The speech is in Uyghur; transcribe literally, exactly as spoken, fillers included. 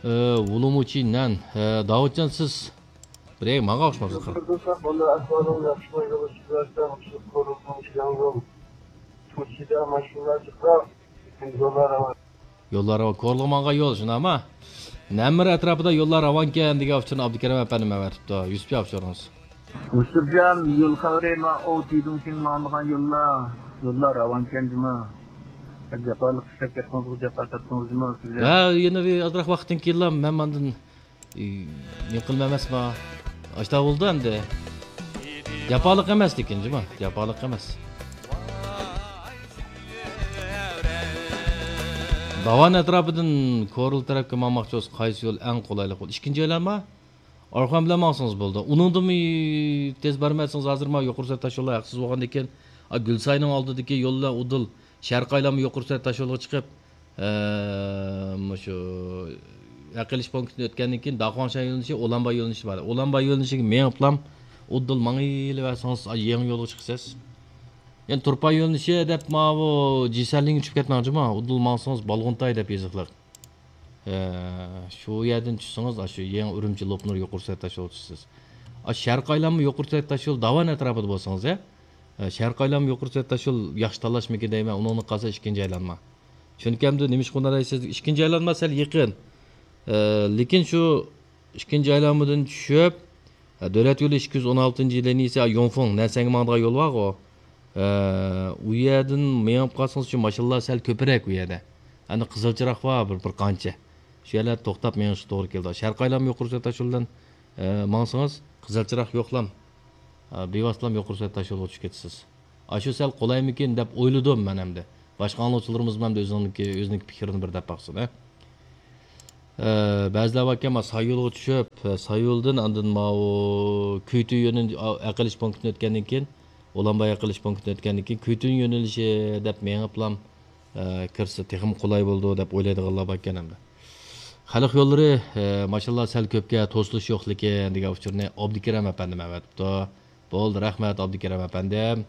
ئە، ۋۇلۇمۇچى نەن. ئە، داۋۇتجان، سىز بىرەي ماڭا ئوخشىمامسىز؟ يوللار راۋان. يوللار راۋان. كورلىغا ماڭغان يول، شۇنداقمۇ؟ نەمىر ئەتراپىدا يوللار راۋانكەن دېگەن ئۇچۇرنى ئابدۇكېرىم ئەپەندىم ئەۋەتىپتۇ. يۈسۈپ ئاكا، ئۇچۇرىڭىز. يۈسۈپجان، يول خەۋىرى، ما ئوۋ تىدۇڭشىڭ ماڭىدىغان يوللار، يوللار راۋانكەن جۇمۇ. جاپالىق ئىشلەپ كەتتىڭىزغۇ، جاپا تارتتىڭىز جۇمۇ سىزلەر. ھە، يەنە بىر ئازراق ۋاقىتتىن كېيىنلا مەن ماندىن، ئى، نېمە قىلىمەن ئەمەسما؟ ئاشتا بولدى ئەمدى. جاپالىق ئەمەس لېكىن جۇمۇ، جاپالىق ئەمەس. داۋان ئەتراپىدىن كورلا تەرەپكە ماڭماقچى بولسا، قايسى يول ئەڭ قولايلىق بولىدۇ؟ ئىككىنچى ئايلانما؟ ئارقان بىلەن ماڭسىڭىز بولىدۇ. ئۇنىڭدىنمۇ تېز بارمايسىڭىز، ھازىر مانا يۇقىرى سۈرئەت تاشيوللار ھەقسىز بولغاندىن كېيىن، ئا، گۈلساينىڭ ئالدىدىكى يوللار ئۇدۇل شەرقىي ئايلانما يۇقىرى سۈرئەت تاشيولىغا چىقىپ، ئە، مۇشۇ ھەق ئېلىش پونكىتىنى ئۆتكەندىن كېيىن، داخۇاڭشەن يۆنىلىشى، ئۇلانباي يۆنىلىشى بار. ئۇلانباي يۆنىلىشىگە مېڭىپلام ئۇدۇل ماڭىۋېرىسىڭىز، ئا، يېڭى يولغا چىقىسىز. يەنى تۇرپان يۆنىلىشى دەپ ماۋۇ جىسەنلىڭگە چۈشۈپ كەتمەڭ جۇمۇ، ئۇدۇل ماڭسىڭىز بالغۇنتاي دەپ يېزىقلىق. ئە، شۇ يەردىن چۈشسىڭىز، ئاشۇ يېڭى ئۈرۈمچى لوپنۇر يۇقىرى سۈرئەت تاشيولىغا چۈشىسىز. ئاشۇ شەرقىي ئايلانما يۇقىرى سۈرئەت تاشيول داۋان ئەتراپىدا بولسىڭىز، ھە؟ ئە، شەرقىي ئايلانما يۇقىرى سۈرئەت تاشيول ياخشى تاللاشمىكىن دەيمەن، ئۇنىڭدىن قالسا ئىككىنچى ئايلانما. چۈنكى ئەمدى نېمىشقا ئۇنداق دەيسىز، ئىككىنچى ئايلانما سەل يېقىن. ئە، لېكىن شۇ ئىككىنچى ئايلانمىدىن چۈشۈپ، ھە، دۆلەت يولى ئىككى يۈز ئون ئالتىنچى لىنىيىسى، ھە، يونفېڭ، نەنسەنگە ماڭىدىغان يول بارغۇ. ھە، ئۇ يەردىن مېڭىپ قالسىڭىز، شۇ ماشىنىلار سەل كۆپرەك ئۇ يەردە. ئەمدى قىزىل چىراغ بار بىر، بىر قانچە. شۇ يەرلەردە توختاپ مېڭىشقا توغرا كېلىدۇ. شەرقىي ئايلانما يۇقىرى سۈرئەت تاشيولىدىن، ھە، ماڭسىڭىز، قىزىل چىراغ يوقلام. ھە، بىۋاسىتىلام يۇقىرى سۈرئەت تاشيولىغا چۈشۈپ كېتىسىز. ئاشۇ سەل قولايمىكىن دەپ ئويلىدىم مەن ئەمدى. باشقا ئاڭلىغۇچىلىرىمىزمۇ ئەمدى ئۆزىنىڭكى، ئۆزىنىڭكى پىكرىنى بىر دەپ باقسۇن، ھە. ئە، بەزىلەر باركەن، مانا ساييولغا چۈشۈپ، ئە، ساييولدىن ئاندىن ماۋۇ كۈيتۈن يۆنىلىش، ئە، ھەق ئېلىش پونكىتىنى ئۆتكەندىن كېيىن، ئۇلانباي ھەق ئېلىش پونكىتىنى ئۆتكەندىن كېيىن، كۈيتۈن يۆنىلىشى دەپ مېڭىپلام، ئە، كىرسە تېخىمۇ قولاي بولىدۇ دەپ ئويلايدىغانلار باركەن ئەمدى. خەلق يوللىرى، ئە، ماشىنىلار سەل كۆپكەن، توسۇلۇش يوقلىكىن دېگەن ئۇچۇرنى ئابدۇكېرىم ئەپەندىم ئەۋەتىپتۇ. بولدى، رەھمەت، ئابدۇكېرىم ئەپەندىم.